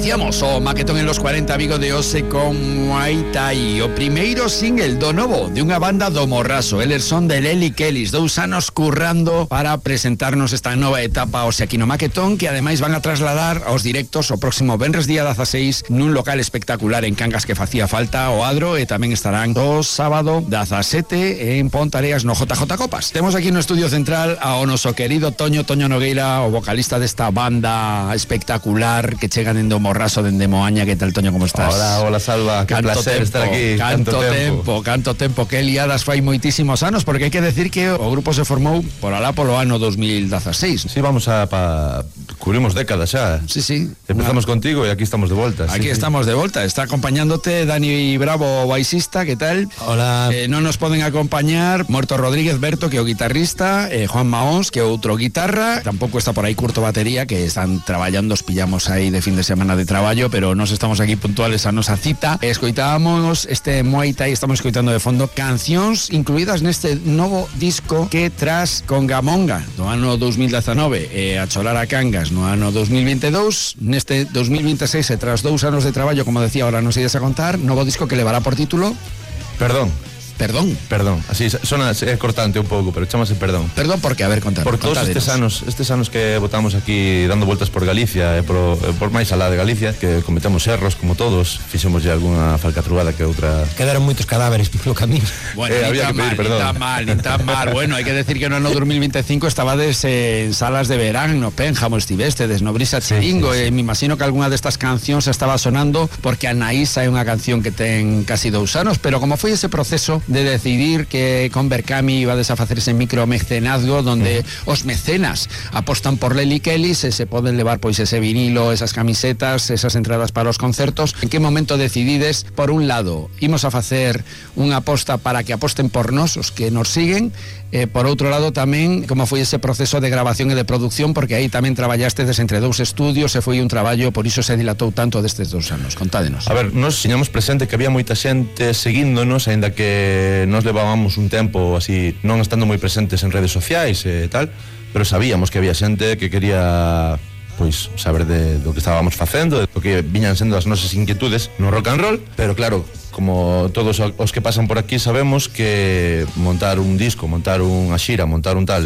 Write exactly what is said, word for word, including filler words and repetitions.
Iniciamos o maquetón en los cuarenta Vigo de Ose con Muay Thai. O primeiro single do novo de unha banda do Morraso. Eles son de Lely Kellys, dous anos currando para presentarnos esta nova etapa Ose aquí no maquetón, que ademais van a trasladar aos directos o próximo venres día dezaseis nun local espectacular en Cangas que facía falta o Adro, e tamén estarán o sábado dezasete en Pontareas no J J Copas. Temos aquí no estudio central ao noso querido Toño Toño Nogueira, o vocalista desta banda espectacular que chegan en do Morraso dende Moaña. Que tal, Toño, como estás? Hola, hola Salva, que canto placer tempo, estar aquí. Canto, canto tempo, tempo, canto tempo, que liadas fai moitísimos anos, porque hai que decir que o grupo se formou por alá polo ano dos mil dezaseis. Sí, vamos a pa... cubrimos décadas xa. Sí, sí. Empezamos Una... contigo e aquí estamos de volta. Aquí sí, estamos sí. de volta. Está acompañándote Dani Bravo, baixista, que tal? Hola. Eh, non nos poden acompañar Morto Rodríguez Berto, que é o guitarrista, eh, Juan Maóns, que é outro guitarra, tampouco está por aí Curto Batería, que están traballando, os pillamos aí de fin de semana de traballo, pero nos estamos aquí puntuales a nosa cita. Escoitábamos este Muay Thai, estamos escoitando de fondo cancións incluídas neste novo disco que tras Congamonga no ano dos mil dezenove e a Chorar a Cangas no ano dos mil veintidós, neste dos mil veintiséis e tras dous anos de traballo, como decía, ahora nos ides a contar, novo disco que levará por título Perdón. Perdón. Perdón, así sona é cortante un pouco, pero chamase Perdón. Perdón porque, a ver, contar. Por todos estes anos, estes anos que botamos aquí dando voltas por Galicia e por, por máis alá de Galicia, que cometemos erros como todos, fixemos ya algunha falcatrugada que outra. Quedaron moitos cadáveres polo camino. Bueno, eh, ni había tan que pedir mal, perdón. ni tan mal, ni tan mal. Bueno, hai que decir que no ano dos mil veinticinco estabades en salas de verán, no Pénjamo estivestedes, no Brisa Chiringo, sí, sí, sí. E me imagino que algunha destas cancións estaba sonando porque a Naísa é unha canción que ten casi dous anos, pero como foi ese proceso de decidir que con Berkami iba a desfacer ese micromecenazgo donde uh-huh. os mecenas apostan por Lely Kellys e se poden levar pois ese vinilo, esas camisetas, esas entradas para os concertos. En que momento decidides, por un lado, imos a facer unha aposta para que aposten por nós, os que nos siguen, e por outro lado tamén como foi ese proceso de grabación e de producción, porque aí tamén traballastedes entre dous estudios e foi un traballo, por iso se dilatou tanto destes dous anos. Contádenos. A ver, nos tiñamos presente que había moita xente seguíndonos, aínda que nos levábamos un tempo así, non estando moi presentes en redes sociais e tal, pero sabíamos que había xente que quería pois saber de do que estábamos facendo, do que viñan sendo as nosas inquietudes no rock and roll, pero claro, como todos os que pasan por aquí sabemos que montar un disco, montar unha xira, montar un tal